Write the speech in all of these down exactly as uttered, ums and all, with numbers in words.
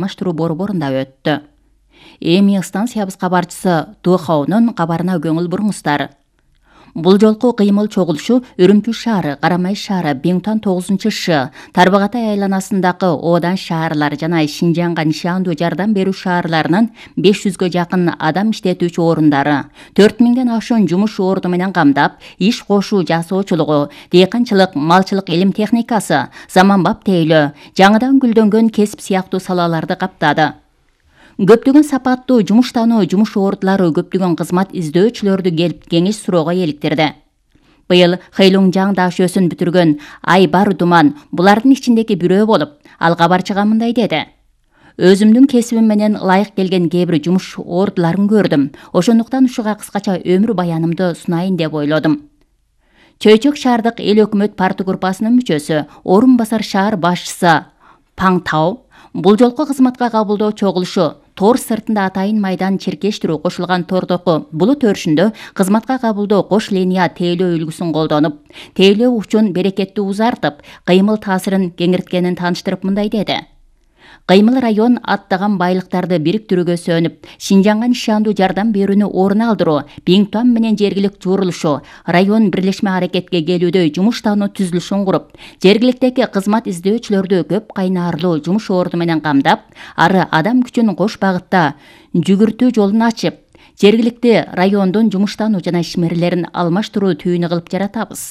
алмаштыруу борборунда өттү. Эми станциябыз кабарчысы Тухаунун кабарына көңүл буруңуздар. Бул жолку кыймыл чогулушу Үрүмчү шаары, Карамай шаары, Биңтуан тогузунчу Ш, Тарбагатай айланасындагы Одан шаарлар жана Шинжанга нишандуу жардам берүү шаарларынын беш жүзгө жакын адам иштетүүчү орундары, төрт миңден ашуун жумуш орду менен камдап, иш кошуу жасоочулугу, дыйканчылык, малчылык илим техникасы, заманбап тейлөө, жаңыдан гүлдөнгөн кесип сыяктуу салаларды каптады. Көптөгөн сапаттуу жумуштануу жумуш ордулары көптөгөн кызмат издөөчүлөрдү келип кеңеш суроого эликтирди. Быйыл Хэйлунжаң дашөөсүн бүтүргөн Айбар Думан булардын ичиндеги бирөө болуп, ал кабарчыга мындай деди: Өзүмдүн кесибим менен ылайык келген кээ бир жумуш ордуларын көрдүм. Ошондуктан ушуга кыскача өмүр баянымды сунайын деп ойлодум. Чөйчөк шаардык эл өкмөт парты группасынын мүчөсү, орун басар шаар башчысы Паң Тау бул жолку кызматка кабылдоо чогулушу тор сыртында атайын майдан черкештирүү кошулган тордоку булут өрүшүндө кызматка кабылдоо кош линия тейлөө үлгүсүн колдонуп, тейлөө учун берекетти узартып, кыймыл таасирин кеңирткенин тааныштырып мындай деди: Кыймыл район аттаган байлыктарды бириктирүүгө сөнүп, Шинжанга нишандуу жардам берүүнү орун алдыруу, Биңтуан менен жергилик журулушу, район бирлешме аракетке келүүдө жумуштануу түзүлүшүн куруп, жергиликтеги кызмат издөөчүлөрдү көп кайнаарлуу жумуш орду менен камдап, ары адам күчүн кош багытта жүгүртүү жолун ачып, жергиликти райондун жумуштануу жана ишмерлерин алмаштыруу түйүнү кылып жаратабыз.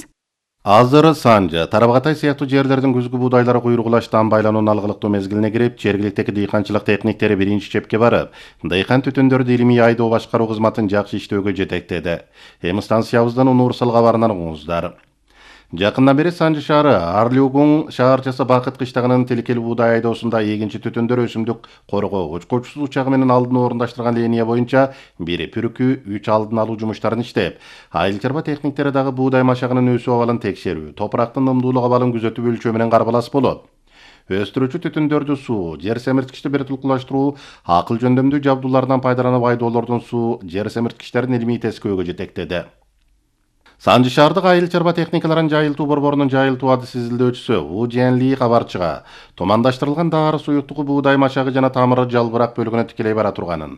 Азыр Санжа, Тарбагатай сыяктуу жерлердин күзгү буудайлары куйругулаштан байлануунун алгылыктуу мезгилине кирип, жергиликтеги дыйканчылык техниктери биринчи чепке барып, дыйкан түтүндөрдү илимий айдоо башкаруу кызматын жакшы иштөөгө жетектеди. Эми станциябыздан универсал кабарынан угуңуздар. Жакындан бери Санжы шаары Арлюгуң шаарчасы Бакыт кыштагынын тилкел буудай айдоосунда эгинчи түтүндөр өсүмдүк коргоо учкучсуз учагы менен алдын орундаштырган линия боюнча бир пүрүкү үч алдын алуу жумуштарын иштеп, айыл чарба техниктери дагы буудай машагынын өсүү абалын текшерүү, топурактын ымдуулук абалын күзөтүп өлчөө менен карбалас болот. Өстүрүүчү түтүндөрдү суу, жер семирткичти биртулкулаштыруу, акыл жөндөмдүү жабдуулардан пайдаланып айдоолордун суу, жер семирткичтерин илимий тескөөгө жетектеди. Санжы шаардык айыл чарба техникаларын жайылтуу борборунун жайылтуу адыс изилдөөчүсү У Жэнли кабарчыга тумандаштырылган дары суюктугу буудай машагы жана тамыры жалбырак бөлүгүнө тикелей бара турганын,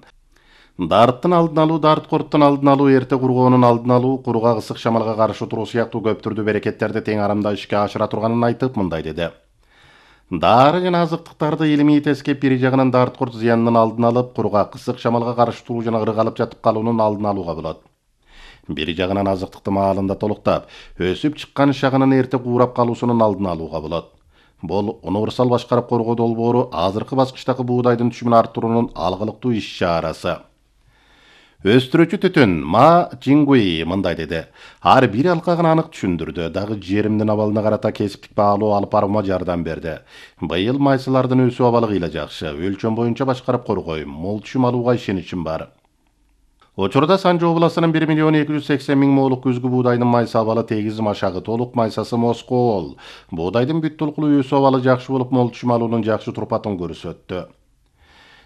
дарыттын алдын алуу, дарыт корттун алдын алуу, эрте кургоонун алдын алуу, куругак ысык шамалга каршы туруу сыяктуу көп түрдүү берекеттерди тең арамда ишке ашыра турганын айтып мындай деди: Дары жана азыктыктарды илимий тескеп, бир жагынан дарыт корт зыянынын алдын алып, куругак ысык шамалга каршы туруу жана ыргалып жатып калуунун алдын алууга болот. Бир жагынан азыктыкты маалында толуктап, өсүп чыккан шагынын эрте куурап калуусунун алдын алууга болот. Бул универсал башкарып коргоо долбоору азыркы баскычтагы буудайдын түшүмүн арттыруунун алгылыктуу иш чарасы. Өстүрүүчү түтүн Ма Чингуи мындай деди: Ар бир алкагын анык түшүндүрдү, дагы жеримдин абалына карата кесиптик баалоо алып баруума жардам берди. Быйыл майсылардын өсүү абалы кыйла жакшы, өлчөм боюнча башкарып коргойм, мол түшүм алууга ишеничим бар. Учурда Санжы областынын бир миллион эки жүз сексен миң моолук күзгү буудайдын майса абалы тегиз, машагы толук, майсасы москоол. Буудайдын бүт толкулуу өсүү абалы жакшы болуп, мол түшүм алуунун жакшы турпатын көрсөттү.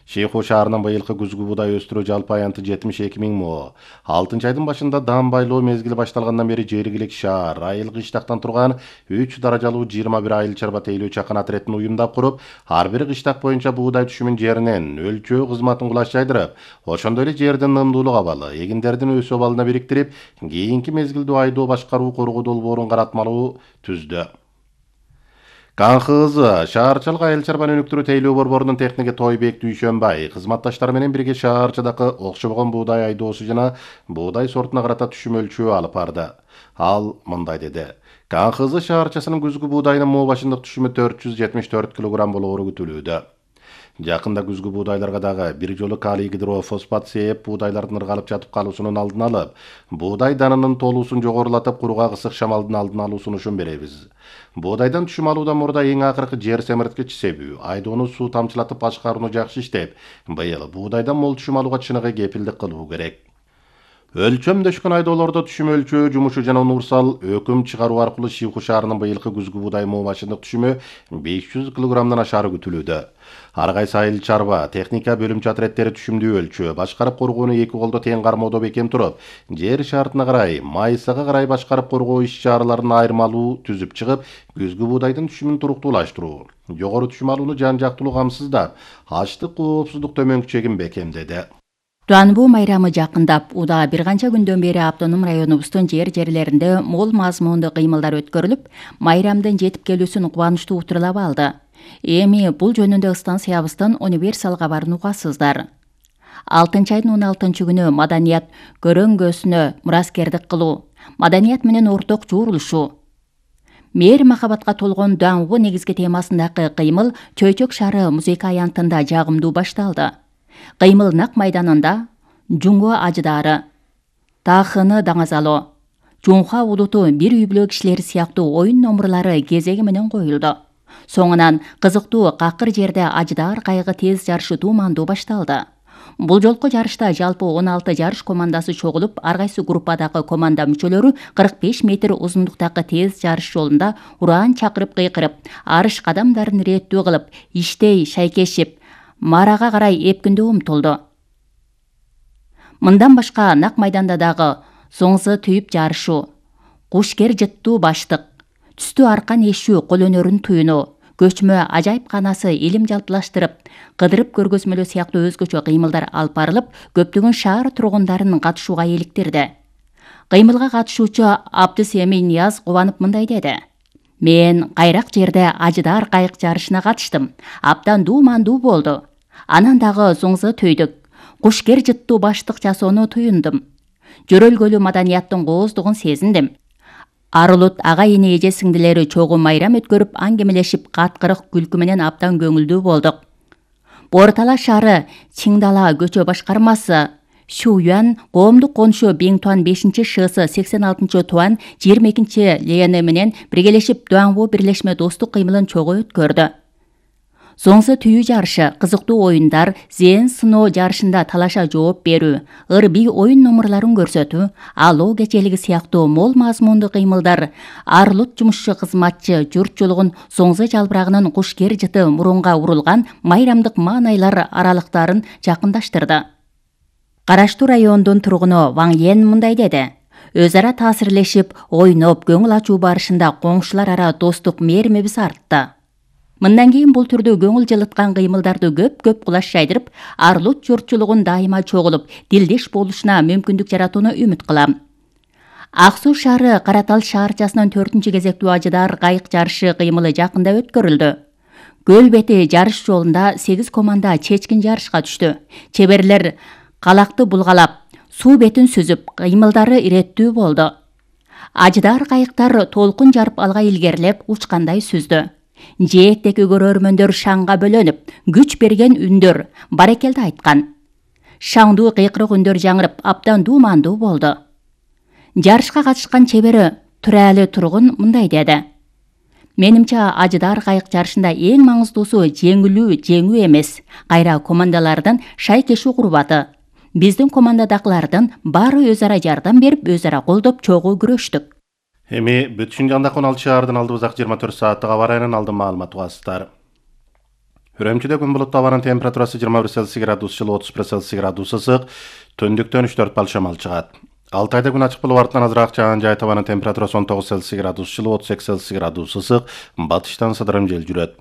Шейху шаарынын быйылкы күзгү буудай өстүрүү жалпы аянты жетимиш эки миң мо. алтынчы айдын башында дан байлоо мезгили башталгандан бери жергилик шаар айыл кыштактан турган үч даражалуу жыйырма бир айыл чарба тейлөө чакан отрядын уюмдап куруп, ар бир кыштак боюнча буудай түшүмүн жеринен өлчөө кызматын кулаш жайдырып, ошондой эле жердин ымдуулук абалы, эгиндердин өсүү абалына бириктирип, кийинки мезгилдүү айдоо башкаруу коргоо долбоорун каратмалуу түздү. Канхызы шаарчылык айыл чарба өнүктүрүү тейлөө борборунун техниги Тойбек Дүйшөнбай кызматташтары менен бирге шаарчыдагы окшобогон буудай айдоосу жана буудай сортуна карата түшүм өлчөө алып барды. Ал мындай деди: Канхызы шаарчасынын күзгү буудайынын мо башындык түшүмү төрт жүз жетимиш төрт килограмм болоору күтүлүүдө. Жакында күзгү буудайларга дагы бир жолу калий гидрофосфат сээп, буудайлардын ыргалып жатып калуусунун алдын алып, буудай данынын толуусун жогорулатып, куругак ысык шамалдын алдын алуу сунушун беребиз. Буудайдан түшүм алуудан мурда эң акыркы жер семирткич себүү, айдоону суу тамчылатып башкарууну жакшы иштеп, быйыл буудайдан мол түшүм алууга чыныгы кепилдик кылуу керек. Өлчөмдөшкөн айдоолордо түшүм өлчөө жумушу жана универсал өкүм чыгаруу аркылуу Шийху шаарынын быйылкы күзгү буудай мообашындык түшүмү беш жүз килограммдан ашаары күтүлүүдө. Ар кайсы айыл чарба, техника бөлүмчө отряддери түшүмдүү өлчөө, башкарып коргоону эки колдо тең кармоодо бекем туруп, жер шартына карай, майысага карай башкарып коргоо иш-чараларын айырмалуу түзүп чыгып, күзгү буудайдын түшүмүн туруктуулаштыруу, жогору түшүм алууну жан-жактылуу камсыздап, ачлык коопсуздук төмөнкү чегин бекемдеди. Дуанбу майрамы жакындап, уда бир канча күндөн бери автоном районубуздун жер жерлеринде мол мазмундуу кыймылдар өткөрүлүп, майрамдын жетип келүүсүн кубанычтуу утурлап алды. Эми бул жөнүндө станциябыздын универсал кабарын угасыздар. алтынчы айдын он алтынчы күнү маданият көрөңгөсүнө мураскердик кылуу, маданият менен орток жуурулушуу, мээр махабатка толгон Дуанбу негизги темасындагы кыймыл Чөйчөк шаары музейка аянтында жагымдуу башталды. Кыймыл нак майданында Жуңго ажыдаары, Таахыны даңазалоо, Жунха улуту бир үй бүлө кишилери сыяктуу оюн номурлары кезеги менен коюлду. Соңунан кызыктуу какыр жерде ажыдаар кайыгы тез жарышы туумандуу башталды. Бул жолку жарышта жалпы он алты жарыш командасы чогулуп, ар кайсы группадагы команда мүчөлөрү кырк беш метр узундуктагы тез жарыш жолунда ураан чакырып кыйкырып, арыш кадамдарын ирээттүү кылып, иштей шайкешип, марага карай эпкиндөө умтулду. Мындан башка нак майданда дагы соңзы түйүп жарышуу, кушкер жыттуу баштык, түстүү аркан эшүү кол өнөрүн туюнуу, көчмө ажайып канасы илим жалпылаштырып, кыдырып көргөзмөлөө сыяктуу өзгөчө кыймылдар алып барылып, көптөгөн шаар тургундарын катышууга иликтирди. Кыймылга катышуучу Абдыс Эми Нияз кубанып мындай деди: Мен кайрак жерде ажыдаар кайык жарышына катыштым. Абдан дуумандуу болду. Анан дагы соңзы төйдүк, кушкер жыттуу баштык жасоону туюндум. Жөрөлгөлүү маданияттын кооздугун сезиндим. Арылут ага-ине эже сиңдилери чогуу майрам өткөрүп, аңгемелешип, каткырык күлкү менен абдан көңүлдүү болдук. Бортала шаары Чиңдала көчө башкармасы Шуюан коомдук конушу Биңтуан бешинчи шысы сексен алтынчы туан жыйырма экинчи Лени менен биргелешип Дуанбу бирлешме достук кыймылын чогуу өткөрдү. Соңзы түйүү жарышы, кызыктуу оюндар, зээн сыноо жарышында талаша жооп берүү, ыр-бий оюн номурларын көрсөтүү, алоо кечелиги сыяктуу мол мазмундуу кыймылдар арылут жумушчу кызматчы журтчулугун соңзы жалбырагынын кушкер жыты мурунга урулган майрамдык маанайлар аралыктарын жакындаштырды. Караштуу райондун тургуну Ваң Йен мындай деди: Өз ара таасирлешип, ойноп, көңүл ачуу барышында коңшулар ара достук мээримибиз артты. Мындан кийин бул түрдө көңүл жылыткан кыймылдарды көп-көп кулаш жайдырып, арылут журтчулугун дайыма чогулуп, дилдеш болушуна мүмкүндүк жаратууну үмүт кылам. Ак Суу шаары Каратал шаарчасынын төртүнчү кезектүү ажыдаар кайык жарышы кыймылы жакында өткөрүлдү. Көл бети жарыш жолунда сегиз команда чечкин жарышка түштү. Чеберлер калакты булгалап, суу бетин сүзүп, кыймылдары иреттүү болду. Ажыдаар кайыктар толкун жарып алга илгерилеп, учкандай сүздү. Жээктеги көрөрмөндөр шаңга бөлөнүп, күч берген үндөр, баракелди айткан. Шаңдуу кыйкырык үндөр жаңырып, абдан дуумандуу болду. Жарышка катышкан чебери Туралы тургун мындай деди: Менимче ажыдаар кайык жарышында эң маңыздуусу жеңилүү, жеңүү эмес, кайра командалардын шайкешүү курбаты. Биздин командадагылардын баары өз ара жардам берип, өз ара колдоп, чогуу күрөштүк. Эми бүтүн жандак он алты шаардын алдыбызак жыйырма төрт сааттык аба райынан алдын маалымат угасыздар. Үрөмчүдө күн булуттуу, абанын температурасы жыйырма бир Цельсий градус жылы, отуз бир Цельсий градус ысык, түндүктөн үч төрт балл шамал чыгат. Алтайда күн ачык болуп, артынан азыраак жаан жай, табанын температурасы он тогуз Цельсий градус жылы, отуз эки Цельсий градус ысык, батыштан сыдырым жел жүрөт.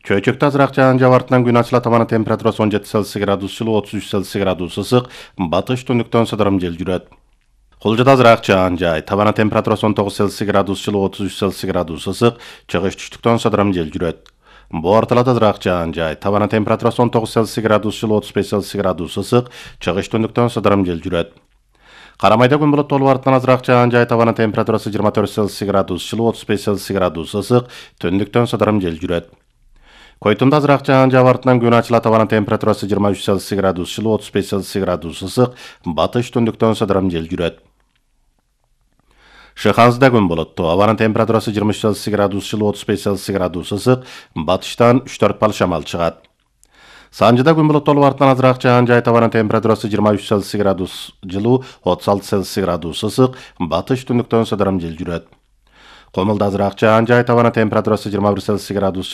Чөйчөктө азыраак жаан жаап, артынан күн ачылат, табанын температурасы он жети Цельсий градус жылы, отуз үч Цельсий градус ысык, батыш түндүктөн сыдырым жел жүрөт. Кулжада азыраак жаан жай, табанын температурасы он тогуз Цельсий градус жылы, отуз үч Цельсий градус ысык, чыгыш түштүктөн сыдырым жел жүрөт. Бу орталада азыраак жаан жай, табанын температурасы он тогуз Цельсий градус жылы, отуз беш Цельсий градус ысык, чыгыш түндүктөн сыдырым жел жүрөт. Карамайда күн булуттуу болуп, артынан азыраак жаан жай, табанын температурасы жыйырма төрт Цельсий градус жылы, отуз беш Цельсий градус ысык, түндүктөн сыдырым жел жүрөт. Койтумда азыраак жаан жаап, артынан күн ачылат, табанын температурасы жыйырма үч Цельсий градус жылы, отуз беш Цельсий градус ысык, батыш түндүктөн сыдырым жел жүрөт. Шыхансда күн булуттуу, абанын температурасы жыйырма үч Цельсий градус жылы, отуз беш Цельсий градус ысык, батыштан үч төрт балл шамал чыгат. Санжыда күн булуттуу артынан азыраак жаан жай табанын температурасы жыйырма үч Цельсий градус жылуу, отуз алты Цельсий градус ысык, батыш түндүктөн сыдырым жел жүрөт. Комулда азыраак жаан жай табанын температурасы жыйырма бир Цельсий градус